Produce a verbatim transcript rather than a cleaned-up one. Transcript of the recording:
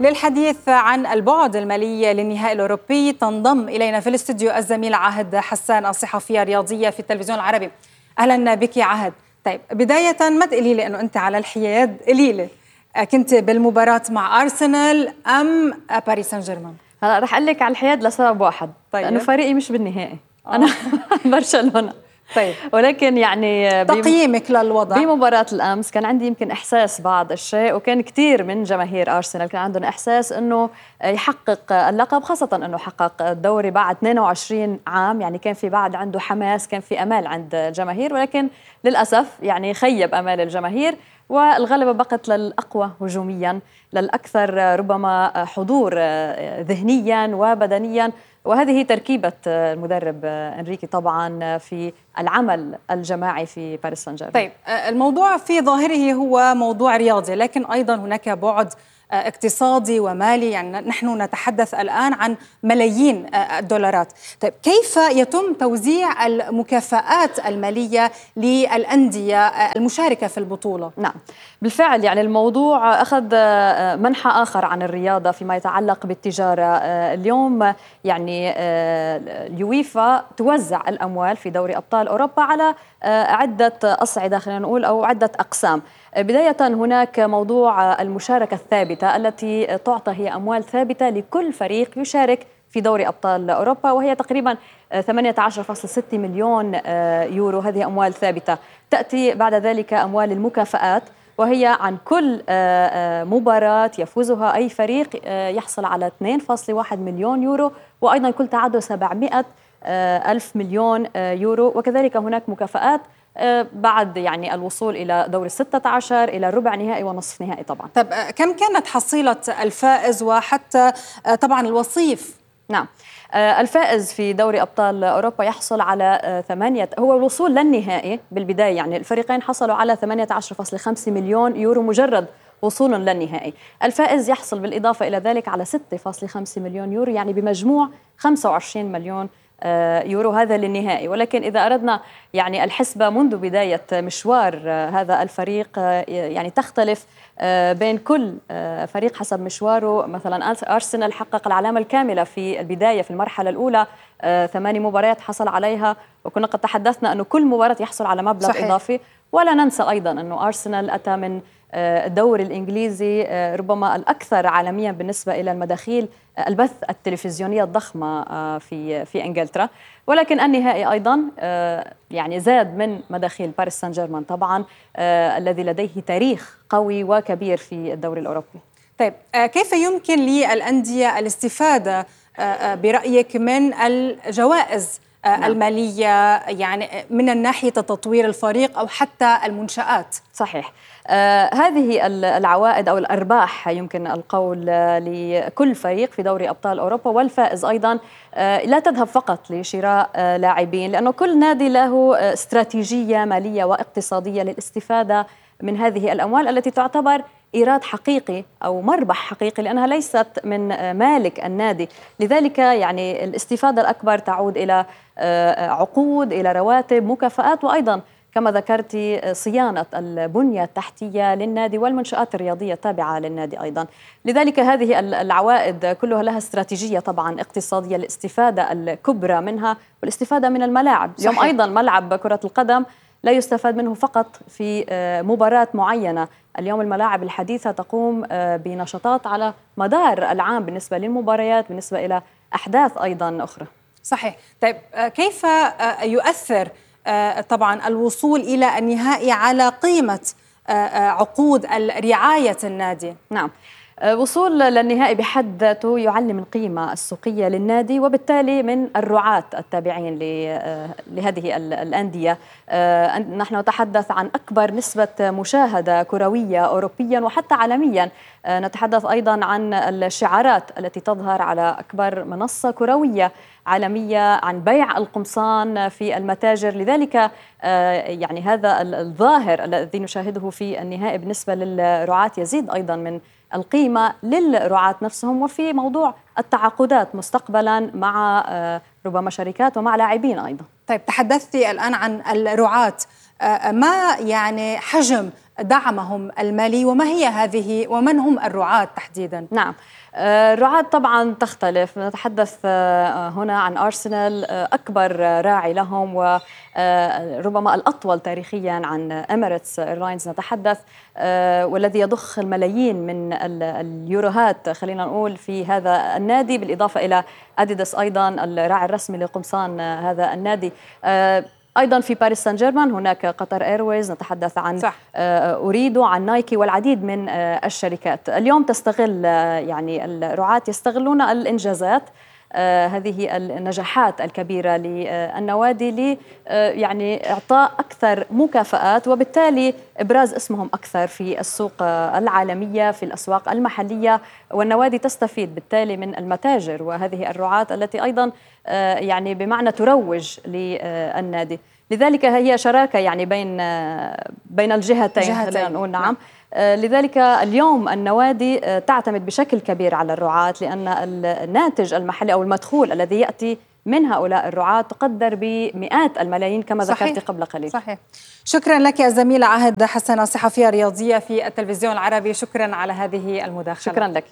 للحديث عن البعد المالي للنهائي الأوروبي تنضم إلينا في الاستوديو الزميل عهد حسان، الصحفية الرياضية في التلفزيون العربي. أهلا بك يا عهد. طيب بداية ما تقولي لي أنه أنت على الحياد، قولي لي كنت بالمباراة مع أرسنال أم باريس سان جيرمان؟ هلا رح أقول لك على الحياد لسبب واحد. طيب. لأنه فريقي مش بالنهائي. آه. أنا برشلونة. طيب ولكن يعني تقييمك للوضع بمباراة الأمس كان عندي يمكن إحساس بعض الشيء، وكان كثير من جماهير أرسنال كان عندهم إحساس أنه يحقق اللقب، خاصة أنه حقق الدوري بعد اثنين وعشرين عام، يعني كان في بعد عنده حماس، كان في أمال عند الجماهير، ولكن للأسف يعني خيب أمال الجماهير، والغلبة بقت للأقوى هجوميا، للأكثر ربما حضور ذهنيا وبدنيا، وهذه هي تركيبة المدرب إنريكي طبعا في العمل الجماعي في باريس سان جيرمان. طيب الموضوع في ظاهره هو موضوع رياضي، لكن أيضا هناك بعد اقتصادي ومالي، يعني نحن نتحدث الآن عن ملايين الدولارات. طيب كيف يتم توزيع المكافآت المالية للأندية المشاركة في البطولة؟ نعم بالفعل، يعني الموضوع أخذ منحى آخر عن الرياضة فيما يتعلق بالتجارة. اليوم يعني اليويفا توزع الأموال في دوري أبطال أوروبا على عدة أصعدة، خلينا نقول، أو عدة أقسام. بداية هناك موضوع المشاركة الثابتة التي تعطى هي أموال ثابتة لكل فريق يشارك في دوري أبطال أوروبا، وهي تقريبا ثمانية عشر فاصلة ستة مليون يورو. هذه أموال ثابتة. تأتي بعد ذلك أموال المكافآت، وهي عن كل مباراة يفوزها أي فريق يحصل على اثنين فاصلة واحد مليون يورو، وأيضا كل تعادل سبعمائة ألف مليون يورو. وكذلك هناك مكافآت بعد يعني الوصول إلى دور الستة عشر إلى ربع نهائي ونصف نهائي طبعا. طب كم كانت حصيلة الفائز وحتى طبعا الوصيف؟ نعم الفائز في دوري أبطال أوروبا يحصل على ثمانية، هو الوصول للنهائي بالبداية، يعني الفريقين حصلوا على ثمانية عشر فاصلة خمسة مليون يورو مجرد وصولا للنهائي. الفائز يحصل بالإضافة إلى ذلك على ستة فاصلة خمسة مليون يورو، يعني بمجموع خمسة وعشرين مليون يورو، هذا للنهائي. ولكن إذا أردنا يعني الحسبة منذ بداية مشوار هذا الفريق، يعني تختلف بين كل فريق حسب مشواره. مثلا أرسنال حقق العلامة الكاملة في البداية في المرحلة الأولى، ثماني مباريات حصل عليها، وكنا قد تحدثنا أنه كل مباراة يحصل على مبلغ صحيح. إضافي. ولا ننسى أيضا أنه أرسنال أتى من الدوري الإنجليزي ربما الأكثر عالميا بالنسبة إلى المداخيل البث التلفزيونية الضخمة في في إنجلترا. ولكن النهائي أيضا يعني زاد من مداخيل باريس سان جيرمان طبعا، الذي لديه تاريخ قوي وكبير في الدوري الأوروبي. طيب كيف يمكن للأندية الاستفادة برأيك من الجوائز نعم. المالية، يعني من الناحية تطوير الفريق أو حتى المنشآت؟ صحيح. آه هذه العوائد أو الأرباح يمكن القول لكل فريق في دوري أبطال أوروبا، والفائز أيضا آه لا تذهب فقط لشراء آه لاعبين، لأنه كل نادي له استراتيجية مالية واقتصادية للاستفادة من هذه الأموال التي تعتبر إيراد حقيقي أو مربح حقيقي، لأنها ليست من مالك النادي. لذلك يعني الاستفادة الأكبر تعود إلى عقود، إلى رواتب، مكافآت، وأيضا كما ذكرتي صيانة البنية التحتية للنادي والمنشآت الرياضية التابعة للنادي أيضا. لذلك هذه العوائد كلها لها استراتيجية طبعا اقتصادية، الاستفادة الكبرى منها والاستفادة من الملاعب. اليوم أيضا ملعب كرة القدم لا يستفاد منه فقط في مباراة معينة. اليوم الملاعب الحديثة تقوم بنشاطات على مدار العام بالنسبة للمباريات، بالنسبة إلى أحداث أيضا أخرى. صحيح. طيب كيف يؤثر طبعا الوصول إلى النهائي على قيمة عقود رعاية النادي؟ نعم وصول للنهائي بحد ذاته يعلي من قيمة السوقية للنادي، وبالتالي من الرعاة التابعين لهذه الأندية. نحن نتحدث عن أكبر نسبة مشاهدة كروية أوروبيا وحتى عالميا. نتحدث أيضا عن الشعارات التي تظهر على أكبر منصة كروية عالمية، عن بيع القمصان في المتاجر. لذلك يعني هذا الظاهر الذي نشاهده في النهائي بالنسبة للرعاة يزيد أيضا من القيمة للرعاة نفسهم، وفي موضوع التعاقدات مستقبلا مع ربما شركات ومع لاعبين أيضا. طيب تحدثتي الآن عن الرعاة، ما يعني حجم دعمهم المالي، وما هي هذه ومن هم الرعاة تحديدا؟ نعم، الرعاة طبعا تختلف. نتحدث هنا عن أرسنال أكبر راعي لهم وربما الأطول تاريخيا عن إميريتس إيرلاينز نتحدث، والذي يضخ الملايين من اليوروهات خلينا نقول في هذا النادي، بالإضافة إلى أديداس أيضا الراعي الرسمي لقمصان هذا النادي. أيضا في باريس سان جيرمان هناك قطر إيرويز، نتحدث عن صح. أوريدو، عن نايكي والعديد من الشركات. اليوم تستغل يعني الرعاة يستغلون الإنجازات، آه هذه النجاحات الكبيرة للنوادي ل آه يعني إعطاء أكثر مكافآت، وبالتالي إبراز اسمهم أكثر في السوق آه العالمية، في الأسواق المحلية، والنوادي تستفيد بالتالي من المتاجر وهذه الرعاة التي أيضا آه يعني بمعنى تروج للنادي. لذلك هي شراكة يعني بين آه بين الجهتين خلينا نقول. نعم. لذلك اليوم النوادي تعتمد بشكل كبير على الرعاة، لأن الناتج المحلي أو المدخول الذي يأتي من هؤلاء الرعاة تقدر بمئات الملايين كما ذكرت قبل قليل. صحيح. شكرا لك الزميلة عهد حسن، صحفية رياضية في التلفزيون العربي، شكرا على هذه المداخلة. شكرا لك.